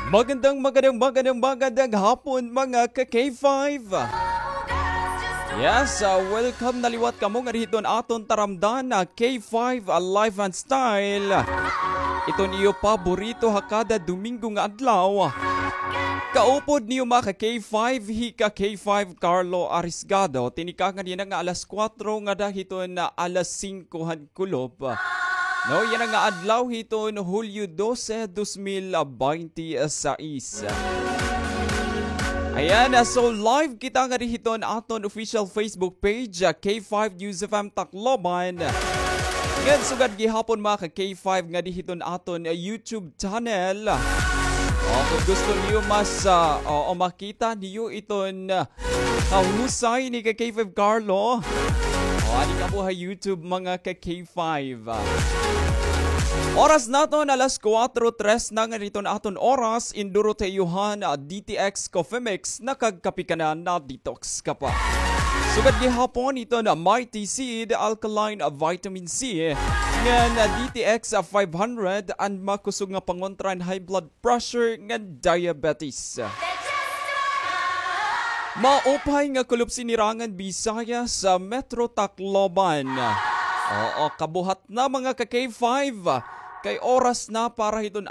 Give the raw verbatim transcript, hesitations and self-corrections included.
Magandang, magandang, magandang, magandang hapon, mga ka-K five. Yes, ah, welcome na liwat kamo ngadi hiton aton taramdan na K five, ah, Life and Style. Iton iyo paborito ha kada Domingo nga adlaw. Kaupod niyo, mga ka-K five, hi ka-K five Carlo Arisgado. Tinikangan yana nga alas kuwatro ngada hiton alas singko han kulop. No, yana nga adlaw hiton Hulyo dose, dos mil baynte sais. Ayan, ah, so live kita ngadi hiton aton official Facebook page, ah, K five News F M Tacloban. Ngan sugad gihapon, mga ka-K five, ngadi hiton aton, ah, YouTube channel. O, kon gusto niyo mas, ah, o, o makita niyo iton, ah, kahusay ni ka-K five Carlo. O, adi kamo ha YouTube, mga ka-K five. Oras naton alas kuwatro tres na ngadi hiton aton oras, in duro ta iyo han, ah, D T X Coffee Mix, nakagkape ka na, na-detox ka pa. Sugad gihapon iton Mighty Seed Alkaline Vitamin C, ngan, ah, D T X five hundred, an makusog nga pangontra hin high blood pressure ngan diabetes. Maupay nga kulop, Sinirangan Visayas, sa Metro Tacloban. Oo, kabuhat na, mga ka-K five. Kay oras na para hiton